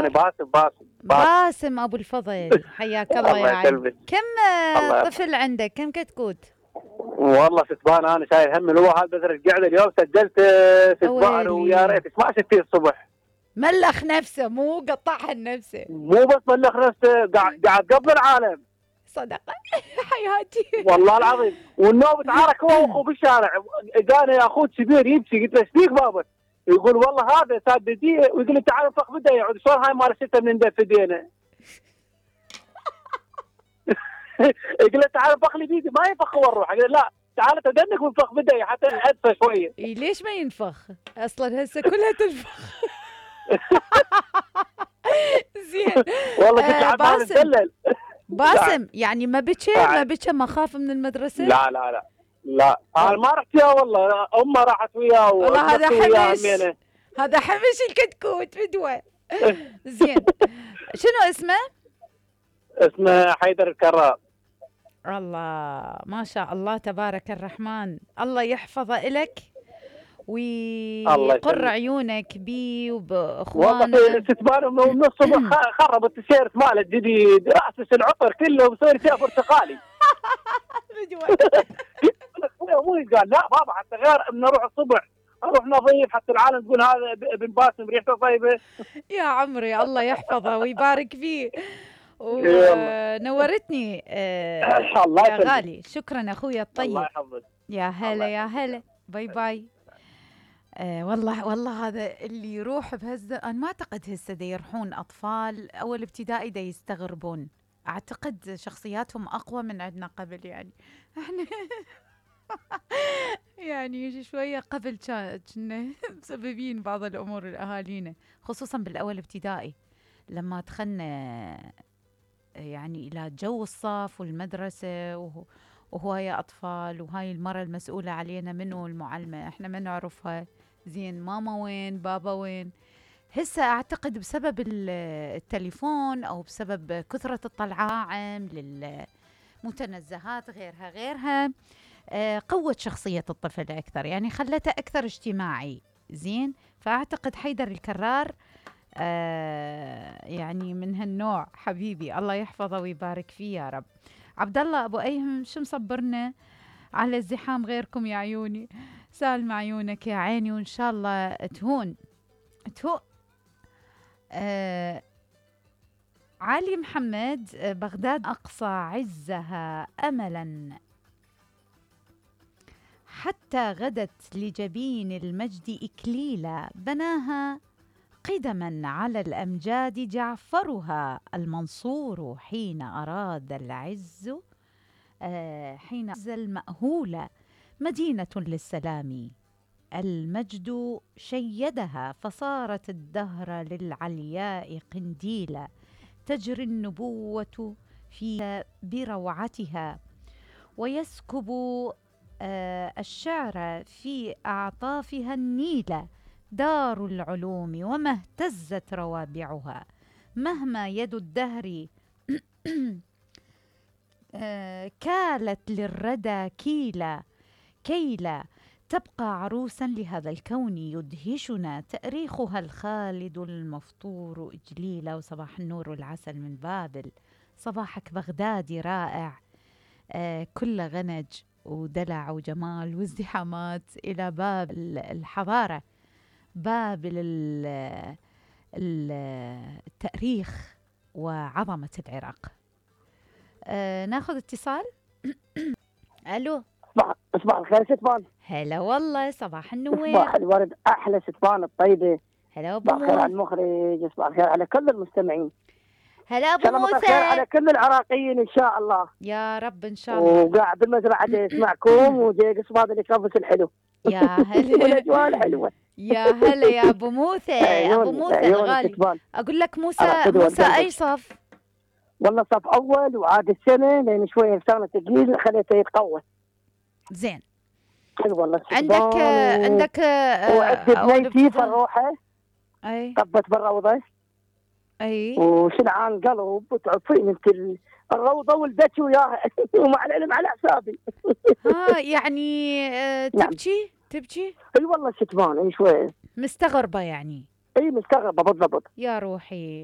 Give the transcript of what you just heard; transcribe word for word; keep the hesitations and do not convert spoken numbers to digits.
انا باسم باسم باسم, باسم ابو الفضل، حياك الله يا عيني. كم طفل عندك؟ كم كتكوت؟ والله ستبان انا شايل هم الواحد، بس رجعت اليوم سجلت ستبان ويا ريت ما شفتي الصبح. ملخ نفسه مو قطعها نفسه، مو بس ملخ نفسه، قاعد قاعد قبل العالم. صدق حياتي والله العظيم. والنوم تعارك هو واخوه بالشارع، قال يا اخوه كبير يمشي، قلت له ايش فيك بابا؟ يقول والله هذا سادتي، ويقول لي تعال انفخ بده، يعود شلون هاي مال سته من ندف ايدينا. يقول له تعال انفخ لي بيدي، ما ينفخ هو الروح، قال لا تعال تدنك وانفخ بده حتى ادفى شويه. إيه ليش ما ينفخ؟ اصلا هسه كلها تنفخ. زين والله كنت آه عم اتدلل. باسم يعني ما بكى ما بكى ما خاف من المدرسه؟ لا لا لا لا انا ما رحت وياه والله، امه راحت وياه. والله هذا حمش، هذا حمش الكتكوت بدوه. زين شنو اسمه؟ اسمه حيدر الكرار. الله ما شاء الله تبارك الرحمن، الله يحفظه إلك ويقر عيونك بي وباخوانك. والله ستبان من الصبح خرب التيشيرت ماله الجديد، راسس العطر كله ومسوي فيها برتقالي. ابوي قال لا بابا حتى غير نروح الصبح اروح نظيف حتى العالم تقول هذا ابن باسم ريحته طيبه. يا عمري الله يحفظه ويبارك فيه. ونورتني آه الله يا غالي. شكرا اخويا الطيب. الله يحفظك. يا هلا يا هلا. باي باي. آه والله والله هذا اللي يروح بهز، انا ما اعتقد هسه دا يروحون اطفال اول ابتدائي دا يستغربون، اعتقد شخصياتهم اقوى من عندنا قبل يعني. احنا يعني شويه قبل كنا مسببين بعض الامور لاهالينا، خصوصا بالاول ابتدائي لما دخلنا يعني الى جو الصف والمدرسه وهو وهواي اطفال، وهاي المرة المسؤولة علينا منو المعلمة، احنا ما نعرفها زين، ماما وين بابا وين. هسه اعتقد بسبب التليفون او بسبب كثرة الطلعاعم للمتنزهات غيرها غيرها آه قوت شخصية الطفل اكثر، يعني خلته اكثر اجتماعي. زين فاعتقد حيدر الكرار آه يعني من هالنوع. حبيبي الله يحفظه ويبارك فيه يا رب. عبد الله ابو ايهم شو مصبرنا على الزحام غيركم يا عيوني؟ سالم عيونك يا عيني، وان شاء الله تهون تهون. آه علي محمد بغداد اقصى عزها املا حتى غدت لجبين المجد اكليلا، بناها قدما على الأمجاد جعفرها المنصور حين أراد العز آه حين عز المأهولة، مدينة للسلام المجد شيدها، فصارت الدهر للعلياء قنديلا، تجري النبوة فيها بروعتها، ويسكب آه الشعر في أعطافها النيلة، دار العلوم وما اهتزت روابعها، مهما يد الدهر كالت للردى كيلا كيلا، تبقى عروسا لهذا الكون يدهشنا، تأريخها الخالد المفطور إجليلا. وصباح النور والعسل من بابل، صباحك بغدادي رائع آه كل غنج ودلع وجمال وازدحامات إلى باب الحضارة، باب التاريخ وعظمة العراق. أه ناخذ اتصال. الو صباح صباح الخير ستبان. هلا والله صباح النور. صباح الورد احلى ستبان الطيبه. هلا ابو صباح الخير على المخرج، صباح الخير على كل المستمعين. هلا ابو موسى. صباح الخير على كل العراقيين ان شاء الله يا رب ان شاء الله. وقاعد بالمزرعه يسمعكم وجاي قصب هذا اللي يكبس الحلو. يا هلا والاجواء الحلوه. يا هلا يا ابو موسى. ابو موسى الغالي، اقول لك موسى موسى اي صف؟ والله صف اول، وعاد السنه لان شويه سنه ثقيل خليته يتقوى. زين حلو والله. عندك و... عندك وعندي بنيتي فروحه اي طبت بالروضه اي وشنعان قلب وتعرفين انت الروضه ولدتي وياها ومع العلم على حسابي. ها يعني آه تبكي تبكي؟ اي والله شتمان اي شويه مستغربه يعني. اي مستغربه بالضبط يا روحي.